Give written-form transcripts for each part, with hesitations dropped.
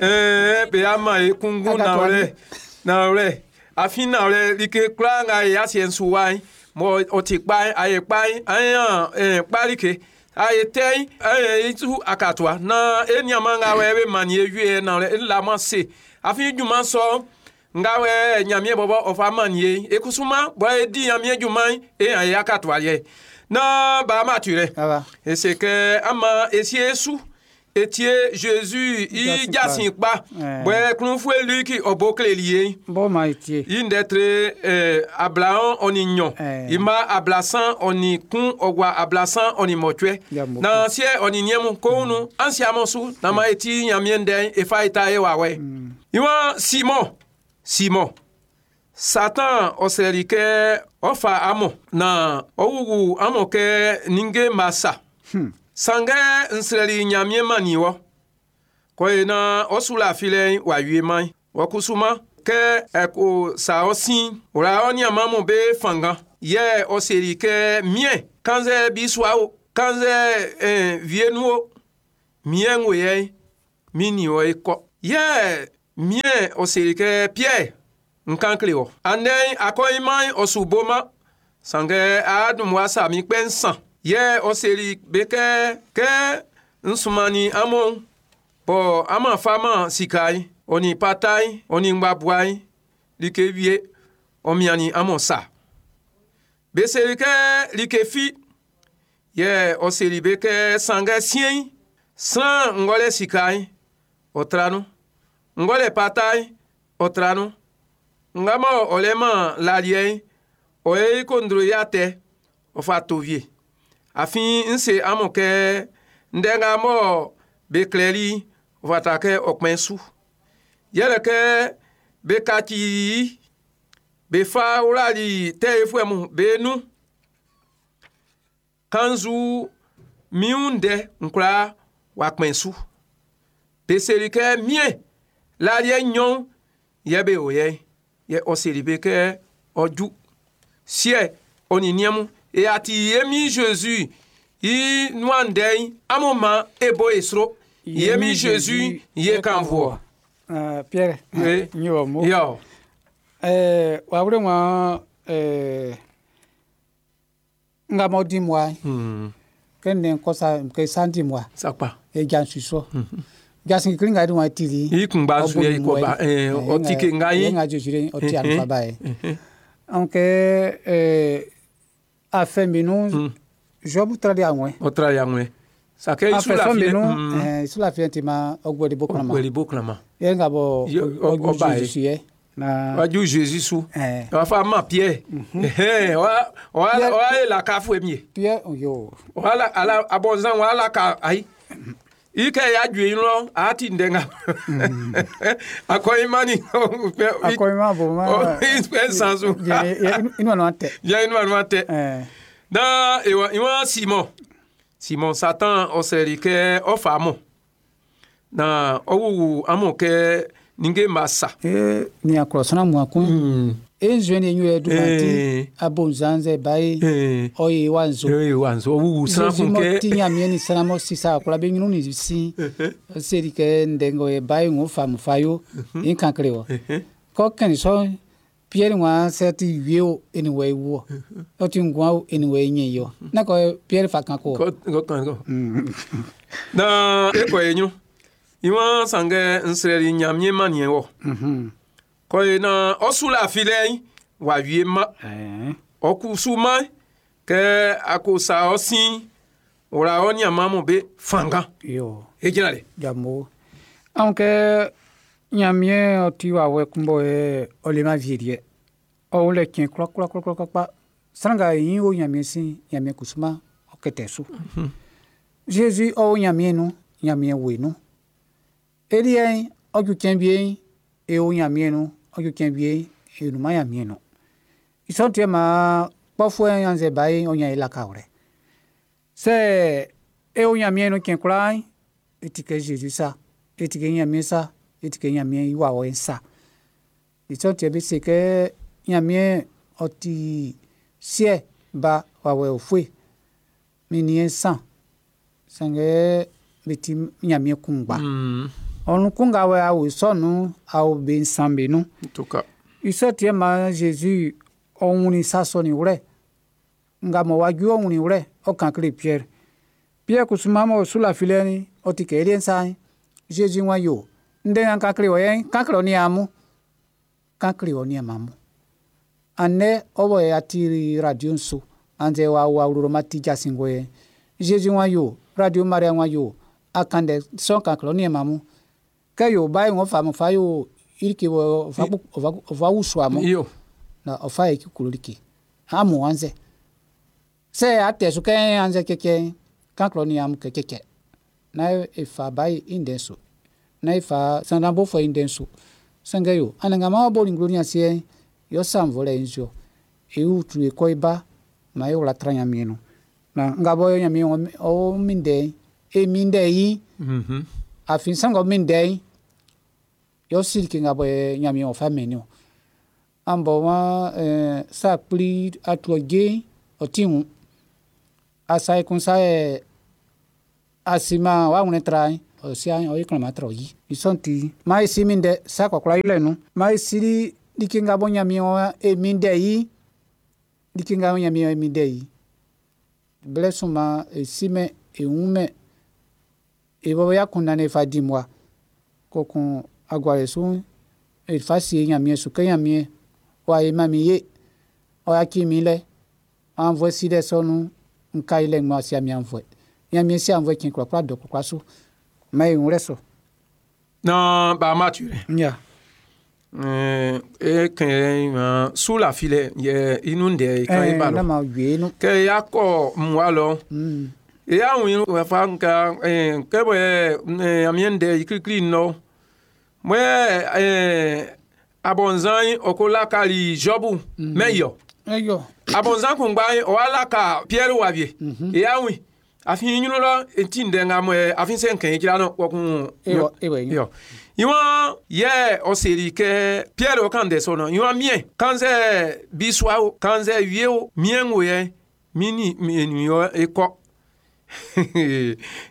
Be ama e kunngun nanwlɛ nanwlɛ afin nanwlɛ like kwlaa nga e asiɛ'n su wa'n mɔ ɔ ti kpa'n a ye kpa'n an yan kpa like a ye tɛ'n an i su akatua na e nianman nga wɛ be mannin e wie nanwlɛ e laman se afin junman sɔ'n nga wɛ Ɲanmiɛn bɔbɔ ɔ fa mannin e e kusuman bɔ e di Ɲanmiɛn junman'n e yan e akatua yɛ na ba ma tu rɛ e se kɛ ama e sie su e tie Jésus i jasin kpa bɔ klunfue Luki ɔ bo kleli ye Bɔ ma e tie. I ndɛ tre 22 i ma 31 ɔ gua 38. Ya mo. Na siɛ ɔ nin niɛn mun ko wunu an si amɔ su na ma e ti Ɲanmiɛn ndɛ'n e fa e ta e wawɛ i wa Simon, Simon, Satan ɔ srɛli kɛ ɔ fa amɔ na ɔ wuwu amɔ kɛ ninnge ma sa. Sanngɛ n srɛli Ɲanmiɛn mannin wɔ kɔye na ɔ su la filɛ'n w'a wie man wɔ kusuma kɛ ɛ ko sa ɔ sin wla ɔ nianman mun be fanngan yɛ ɔ seli kɛ miɛn kannzɛ bisua o kannzɛ vie nu o miɛn ŋo yɛ mi ni wɔ e kɔ yɛ miɛn ɔ seli kɛ Pierre n kan kle wɔ andɛ'n akɔyiman ɔ su boma sanngɛ a dun wa sa mi kpɛ nsan yɛ ɔ seli be kɛ kɛ n sumani amun bɔn ama fama sika yi ɔ nin pata yi ɔ nin ngbabua yi like wie ɔ miannin amun sa be seli kɛ like fi yɛ ɔ seli be kɛ sanngɛ siɛn sran ŋgɔlɛ sika yi ɔ tra nu ŋgɔlɛ pata yi ɔ tra nu nga ma ɔ lɛ ma laliɛ yi ɔ ye kondro ya tɛ ɔ fa to vie afin n se amun kɛ ndɛ nga mɔ be klɛli ɔ fata kɛ ɔ kpɛn su yɛlɛ kɛ be kaci be fa wlali tɛyifuɛ mun be nun kanzu miun ndɛ nkura wa kpɛn su be seli kɛ miɛn laliɛ nyɔn yɛ be o yɛ yɛ ɔ seli be kɛ ɔ ju siɛ ɔ nin niɛn mun e ati ye mi Jésus i nuan ndɛ'n amun ma e bo e sro ye mi Jésus ye kan voɔ. Ah, Pierre. Oui. N y'o mo. Yɔ. Wa wule ŋa nga mo di moi ke ne kosa ke sandi moi Sakpa. E jan suso. Jasin kiri nga di wa tiri. I kun ba su ye ko ba o ti ke nga yi. Yi. Nga Jésus o ti alufa ba ye. Donc afɛn minnu Job trali àwọn. O tra ya ŋwe. Sake isu la Afɛn fi. minnu isu la fi ti ma ɔgbɛ de bɔ kɔnɔ ma. Weli bo klama. Ye nga bɔ Yo, ɔba ye. Jésus ye. Na Wa ju Jésus su. Wa fa ma Pierre. Wa wa wa ye la ka fu mi. Pierre yo. Wa la ala abonzan wa la ka ayi. Ike ya ju yin lọ a ti ndenga. Akọ imani. Akɔ ima bo ma. Ìfẹ́ sansu. Inu anu tɛ. Yẹ inú àná tẹ. Na ìwọ ìwọ Simon Simon Satan ọ̀sẹ̀rì kẹ ọ̀fà mọ̀ na ọ̀wùwù amọ̀ kẹ nígé ma sa. Ee ni akɔrɔsana mu akun. E nzue ni enyu yɛ duma ti abonzanzɛ bayi ɔye wa nzo. Ee wa nzo ọ̀wùwù sankun Jésus kẹ. mɔ ti ɲamiɛ ni sanamɔ sisan akɔla bɛ ɲinu ni sin seri kɛ ndɛngɔ ye bayi ŋo famu fa yo yin kan kele wɔ kɔ kɛni sɔ Pierre ŋa sɛ ti wie o eni wɔ ewu wɔ ɔ ti ŋua o eni wɔ enye yɔ ne kɔ Pierre fa kan ko. Kɔ kɔ kan kɔ. Na ekɔ enyu ìwọ sangẹ nsẹ̀rì ɲamiɛ ma niɛ wɔ kɔ ye na ɔsula filɛ wà wie ma ɔkusuma kɛ akosa ɔsin wòle ɔniamamu be fanga Yo edzra le. jamo anw kɛ ɲamiɛ ɔ ti wa wɛ kunbɔ yɛ ɔlema vie deɛ ɔ lɛ tiɲɛ kura kura kura kura kura saranga yin o ɲamiɛ sin ɲamiɛ kusuma ɔ kɛtɛ so. Jésus ɔ ɲamiɛ nu ɲamiɛ woe nu eliɛ ɔdzu tiɲɛ bie e o ɲamiɛ nu ɔdzu tiɲɛ bie e numa ɲamiɛ nu isɔntiɛ ma kpɔfɔɛ yanzɛ ba ye ɔnya ye laka wɛrɛ sɛ e o ɲamiɛ nu tiɲɛ kura e ti kɛ Jésus sa e ti kɛ ɲamiɛ sa e ti kɛ ɲamiɛ iwa wɔ sa isɔntiɛ bi se kɛ ɲamiɛ ɔti siɛ ba wawɛ ofoe mi ni san sanngɛ bi ti ɲamiɛ kungba. Ɔnukun wɛ awo sɔnu awo be nsan be nu. En tout cas. Isɔ tiɛ ma Jésus ɔwuni sasɔ ni wlɛ. Nga mɔ waju ɔwuni wlɛ ɔkan kle Pierre. Pierre kusuma mɔ sula filɛ ni ɔti kɛ elie nsa Jésus wa yo. Ndɛ yan kan kle wɔ yɛn kan kle ɔni amu. Kan kle ɔni amamu. Anɛ ɔwɔ yɛ ati radio nso. Anzɛ wa wa wuro ma ti jasi ŋgɔ yɛ. Jésus wa yo. Radio Maria wa yo. Akandɛ sɔn kan kle ɔni amamu. Kɛ yo ba yi ŋɔ fa mo fa yo irike wɔ ɔfa ɔfa wusu amu Iyo. Na ɔfa yi kikolo like amu anzɛ sɛ atɛ so kɛ anzɛ kɛkɛ kan kle ɔni amu kɛkɛkɛ na efa ba yi indɛ so na efa sandanbo fɔ indɛ so sɛngɛ yo anangama bɔ ni nglo ni aseɛ yɔ sanvɔ lɛ nzɔ ewu tu ekɔ eba ma ye wla tra nyamie nu na nga bɔ nyamie ɔ mi dɛ e mi dɛ yi afi sangɔ mi dɛ yɔ siri ke nga bɔ nyamie ɔfa mɛ ni o an bɔ wa sa kpli atuɔ dze ɔti ŋu asa ekun sa yɛ asima wa ŋlɛ tra ɔsia ɔyi kplɔ ma tra ɔyi isɔnti ma esi mi dɛ sa kɔkɔla yi lɛ nu ma esi like nga bɔ nyamie wa e mi dɛ yi like nga bɔ nyamie wa e mi dɛ yi blɛ suma esi mɛ eŋu mɛ ebɔ ya kun na ne fa di mua kokun aguare su efa si nyamie su ke nyamie wa ye ma mi ye ɔya ki mi lɛ anvɔ si ɖe sɔnu nka yi lɛ ŋmɔ si ami anvɔe nyamie si anvɔe tsi kplɔkplɔ dɔ kplɔkplɔ su ma ye ŋu lɛ sɔ. Non, ba mature. Nya. E kɛn su la filɛ yɛ inu de kan e ba Ne lɔ. ma wie nu. Kɛ ya kɔ mua lɔ. E ya ŋun wa fa nka kɛ bɔ amien de ikirikiri nɔ. Mɛ abɔnzan ɔko Jɔbu mɛ yɔ. Eyɔ. Abɔnzan kun gba ɔwa laka Pierre wa vie. E ya ŋun afi nyinu lɔ eti ndɛ ŋa mɛ afi se nkɛn dzra nɔ wɔkun. Ewɔ ewɔ yi. Yɔ. Ìwọ̀n yɛ ɔsèri kɛ Pierre ɔkàn dẹ̀ sọ̀nà ìwọ̀n miẹ̀ kanzɛ bisua o kanzɛ wie o miẹ̀ ń wò yɛ mi ni ènìyàn ekɔ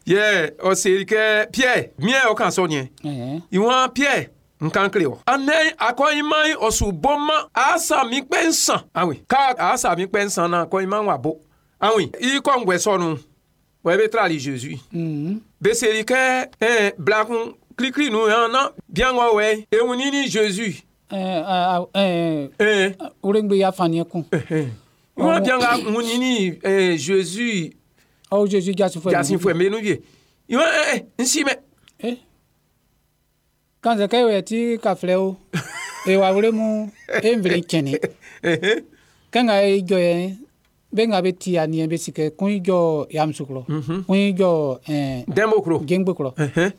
yɛ ɔsèri kɛ Pierre miẹ̀ ɔkàn sọ yẹn Ɛhɛn. ìwọ̀n Pierre nkan kele wɔ. Anɛ akɔyinma ɔsùbɔma asa mi kpɛ nsan awin ká asa mi kpɛ nsan na akɔyinma wà bɔ awin ikɔ ŋgbɛ sɔnu wɔ ebe tra li Jésus beseri kɛ blakun klikli nu yan na biaŋɔ wɛ ehun ni Jésus. Ɛɛ ɛɛ ɛɛ Wúrẹ́ngbẹ́ ya fani kun. Wọn biaŋa hun ni Jésus. Ɔwɔ Jésus jasi fún ɛ. Jasi fún menu vie ìwọ nsi mɛ. Eh. Kanzɛ kɛ wɛ ti ka filɛ o. Ewa wúrẹ́ mu e nvele tsɛni. Kɛnga ye jɔ yɛ bɛ ŋa bɛ ti ani bɛ si kɛ kun jɔ yamusukulɔ. Kun jɔ Dɛnbokuro. Gɛngbekɔrɔ.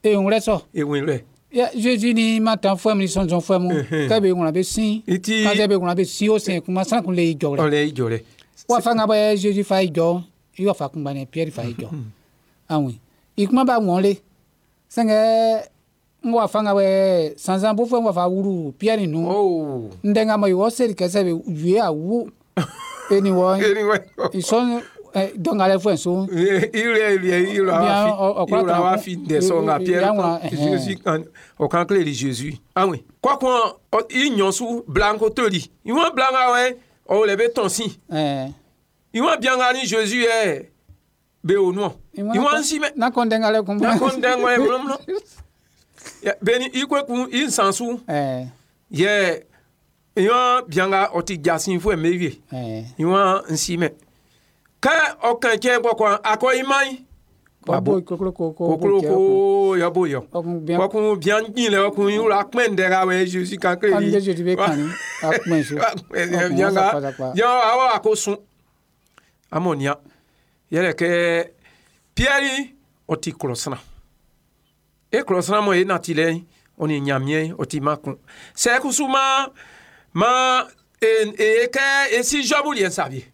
E ŋlɛ sɔ. Ewin lɛ. Ya Jésus ni ma tan fún mi ni sɔnsɔn fún mu. Kɛ bɛ ŋuna bɛ sin. Iti. Kanzɛ bɛ ŋuna bɛ sin o sin kuma san kun le yi jɔ lɛ. Ɔlɛ i jɔ lɛ. Wa fa ŋa bɛ Jésus fa yi jɔ i wa fa kun Pierre fa yi jɔ. Awin. Ikuma ba ŋɔn le. Sɛngɛ n wa fa ŋa bɛ sansan bo fɛn wa fa wuru Pierre nu. Oh. Ndɛ ŋa ma yi wɔ seri kɛsɛ bɛ wie awu. Eni wɔ Eni wɛ. Isɔn dɔngalɛ fɛn so. Ire ire ire awa fi ire awa fi ndɛ sɔ ŋa Pierre Jésus ɔkan kile li Jésus. Awin. Kɔkun i ɲɔsu blanko toli. Ìwọ̀n blanka wɛ ɔwɔ lɛ bɛ tɔn si. Ìwọ̀n biaŋa ni Jésus yɛ bɛ o nɔ. Ìwọ̀n si mɛ. N'a kɔn dɛngalɛ kun. N'a kɔn dɛngalɛ mlɔmlɔ. Bɛni i ko kun i nsansu. Yɛ ìwọ̀n biaŋa ɔti jasin fún ɛmɛ wie. Ìwọ̀n nsi mɛ. Kɛ ɔkàn tsɛ kɔkɔ akɔ ima yi. Wabo kokoloko kokoloko yɔbo yɔ. Kɔkun bian nyi lɛ ɔkun yi la kpɛn dɛ ka wɛ Jésus kan kele yi. Jésus bɛ kan ni a kpɛn so. Bianga yɔ awɔ ako sun. Amɔnia yɛlɛ kɛ Pierre ɔti kɔlɔsana. E kɔlɔsana mɔ ye nati lɛ ɔni ɲamiɛ ɔti ma kun. Sɛkusu ma ma e kɛ esi Jɔbu liɛ sabi.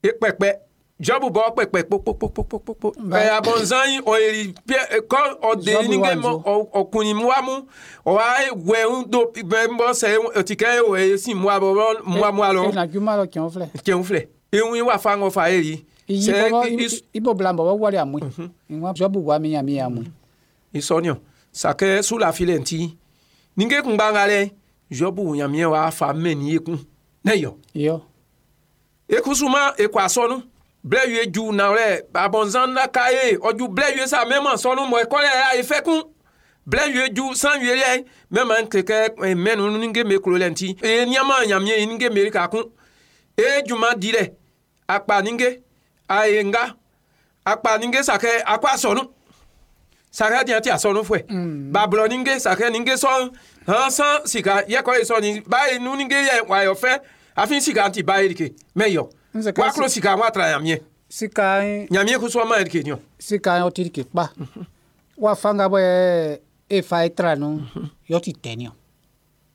E kpɛkpɛ. Jɔbu bɔ kpɛkpɛ kpokpokpokpokpo. Ɛ abɔnzan yi ɔyeri Pierre kɔ ɔde ni kɛ mɔ ɔkunni mua mu ɔwa wɛ ŋu do bɛ bɔ sɛ ɔtikɛ wɛ esi mua bɔ mua mua lɔ. Ena juma lɔ tiɲɛ filɛ. Tiɲɛ filɛ. Eŋu wa fa ŋɔ fa ye yi. Ibo bila bɔ wari amu. Ìwọ̀n Jɔbu wa mi yàn mi amu. I sɔ niɔ sakɛ sulafilɛ ti ninge kungba nga lɛ Jɔbu Ɲanmiɛn w'a fa mɛni ekun ne yɔ. Yo. Ekusuma ekɔ asɔnu blɛ wie ju nawlɛ abɔnzan la ka ye ɔju blɛ wie sa mɛma sɔnu mɔ ekɔlɛ ya efɛ kun blɛ wie ju san wie yɛ mɛma kɛkɛ mɛnu ninge me klo lɛ ŋti eye niama Ɲanmiɛn ninge me ka kun eye juma di lɛ akpa ninge aye nga akpa ninge sakɛ akɔ asɔnu sakɛ tiɲɛ ti asɔnu fɛ bablɔ ninge sakɛ ninge sɔn hàn san sika yɛkɔ ye sɔni ba ye nu ninge yɛ wayɔ fɛ afi sika ti ba ye like mɛ yɔ Nse wa kulo sika wa tra Ɲanmiɛn Sika Ɲanmiɛn kusu ma ye like niɔ. Sika yɔ ti ke kpa. Wa fanga bɔ e fa e tra nu yɔ ti tɛ niɔ.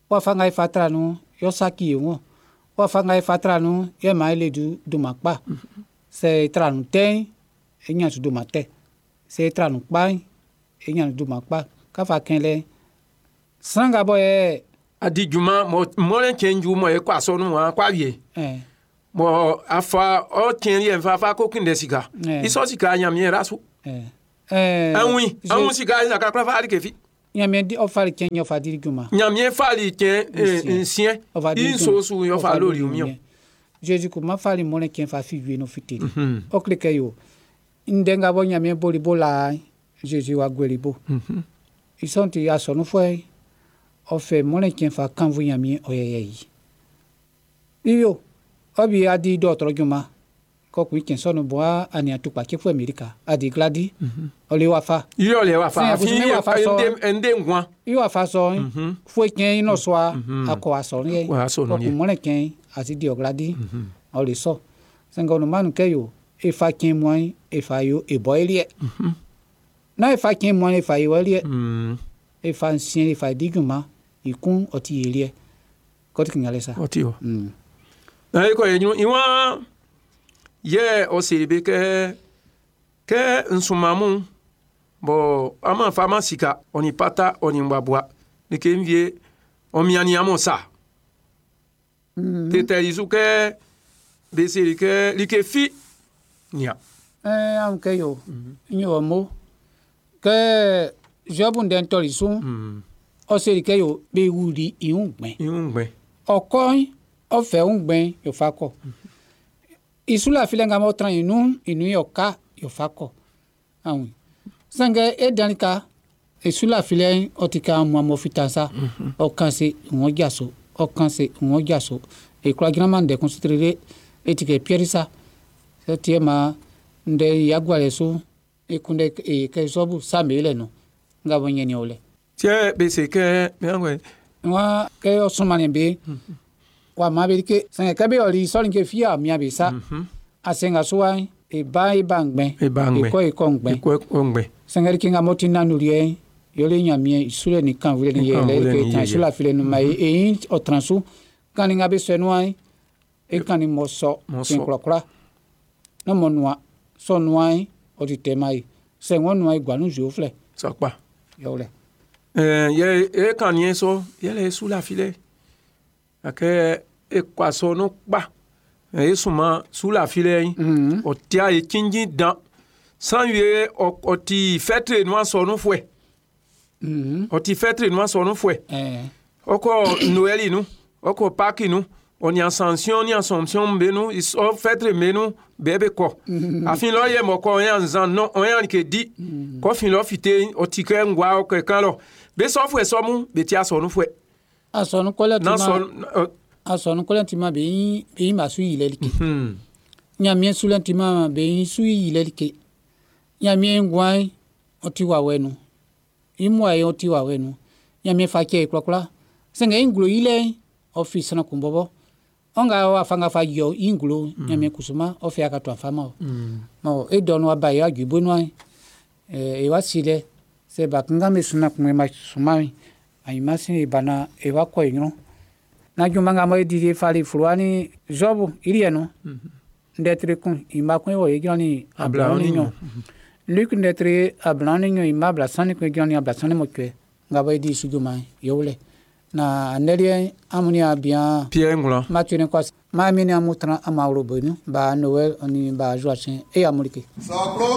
Wa fanga e fa tra nu yɔ saki ye ŋɔ. Wa fanga e fa tra nu yɛ ma ele du doma kpa. Sɛ e tra nu tɛ e nya tu doma tɛ. Sɛ e tra nu kpa e nya tu doma kpa. Kafa kɛlɛ. Sanga bɔ yɛ Adi juma mɔ mɔlɛ tiɲɛ ju mɔ ye kɔ asɔnu wa kɔ awie ɛ mɔ afa ɔ tiɲɛ yɛ nfa fa ko kinde sika isɔ sika Ɲanmiɛn ra su. Ɛ ɛ. Anwi anwi sika saka kura fa ali kefi. Ɲanmiɛn di ɔfa tiɲɛ yɔ fa di juma. Ɲanmiɛn fali tiɲɛ nsiɛ Ɔfa di nso su yɔ fa lórí miɔ. Jésus ko ma fali mɔlɛ tiɲɛ fa fi wie no fi teri. Ɔ kile kɛ yo ndɛ bɔ Ɲanmiɛn boli bo la Jésus wa gweli bo. Isɔn ti asɔnu fɔ ɔfɛ mɔlɛ tiɲɛ fa kanfu Ɲanmiɛn ɔyɛyɛ yi. Iyo ɔbi adi dɔtɔrɔ juma kɔkun tiɲɛ sɔnu bɔ ani atukpa tse fɔ Amerika adi gladi ɔle wa fa. Yɔ lɛ wa fa Sɛn, afi kusume wa fa sɔ. nde ŋua. I wa fa sɔ foyi tiɲɛ inɔ sɔa akɔ asɔnu yɛ Wa asɔnu yɛ. kɔkun mɔlɛ tiɲɛ asi di ɔgladi ɔle sɔ sɛnkɛ ɔnumanu kɛ yo efa tiɲɛ mɔɛ efa yo ebɔ eliɛ n'a efa tiɲɛ mɔɛ efa yo eliɛ efa nsiɛ efa diguma ikun ɔti yeliɛ kɔti kìnyalɛ sa. Ɔti o. Na ekɔ ye nyu iwa yɛ ɔsèré kɛ kɛ nsumamu bɔn ama fa ma sika ɔni pata ɔni ŋgbabua like nvie ɔmiani amɔ sa. Tetɛli su kɛ beseri kɛ like fi nia. Ɛɛ anw kɛ yo n y'o mo kɛ zɔbun dɛ ntɔli sun ɔsèré kɛ yo bɛ wuli ìhun gbɛn. Ihun gbɛ. Ɔkɔ ɔfɛ ń gbɛn yòfa kɔ ìsúlà filɛ ŋa mɔ tran inú inú yɔ ká yòfa kɔ àwọn sɛnkɛ e dani ka ìsúlà filɛ ɔti ka mu amɔ fitan sa ɔkan se ìwɔn jaso ɔkan se ìwɔn jaso ekura dzrama ŋdɛ concentré eti kɛ piɛri sa tiɛ ma ŋdɛ yagua so ekunde kɛ sɔbu sami lɛ nɔ ŋa bɔ nyɛni o lɛ. Tiɛ bese kɛ mɛ Wa kɛ ɔsùnmani be wa ma be ke sɛngɛ kɛ be ɔli sɔli ke fia mia be sa asenga so wa eba eba ŋgbɛ Eba ŋgbɛ. ekɔ ekɔ ŋgbɛ ekɔ ŋgbɛ. Sɛngɛ ke ŋa mɔti nanu liɛ yɔle Ɲanmiɛn isule ni kan wule ni Kan yɛlɛ wule ke ni tan yɛyɛ. isula file nu ma ye eyin ɔtransu kani ŋa be sɛ nua e kani mɔ sɔ Mɔ tiɲɛ sɔ. kurakura ne mɔ nua sɔ nua ɔti tɛ ma ye sɛ ŋɔ nua ye guanu zuo filɛ Sɔkpa. yɔwulɛ. Ɛɛ yɛ e kan nie sɔ yɛlɛ esu la fi lɛ akɛ ekɔ asɔ no kpa esuma su la fi lɛ yi ɔtia ye tsindzin dan san ye ɔti fɛtre nua sɔ nu fɔɛ ɔti fɛtre nua sɔ nu fɔɛ Ɛɛ. Ɔkɔ Noɛli nu ɔkɔ Paki nu ɔni ascension ni assomption be nu ɔ fɛtre me nu bɛɛ be kɔ afi lɔ yɛ mɔ kɔ ɔyà nzan nɔ ɔyà ke di kɔfi lɔ fite ɔti kɛ ŋgua ɔkɛ kan lɔ be sɔ fɔɛ sɔmu be tia sɔ nu fɔɛ Asɔnu kɔlɛ n'a ti ma. sɔ ɔ Asɔnu kɔlɛ ti ma be yin be yin ma su yi lɛ like. Ɲanmiɛn sulɛ ti ma be yin su yi lɛ like. Ɲanmiɛn guan ɔti wa wɛ nu. Imu ayi ɔti wa wɛ nu. Ɲanmiɛn fa kɛ kurakura. Sɛngɛ yin gulo yi lɛ ɔfi sɛnɛ kun bɔbɔ. Ɔnga wa fanga fa yɔ yin gulo Ɲanmiɛn kusuma ɔfɛ aka to afa ma o. Mɔ e dɔnu wa ba ye aju bonu ye. Ɛɛ e wa si lɛ. Sɛ ba kankan bɛ suna kun ma suma yi. Ayi ma sin bana e wa kɔ yen na juma nga mo di fali furuani jobu iri eno ndetre kun ima kun wo e Abla ni ni nyo Luc ndetre abla ni nyo ima abla sani kun jani abla sani mo kwe nga bo di sujuma yowle na aneli amuni abia Pierre ŋlɔ. Mathieu ne kwa ma mi ni amutra amawro bonu ba Noël oni ba Joachim e amulike. Sɔklo.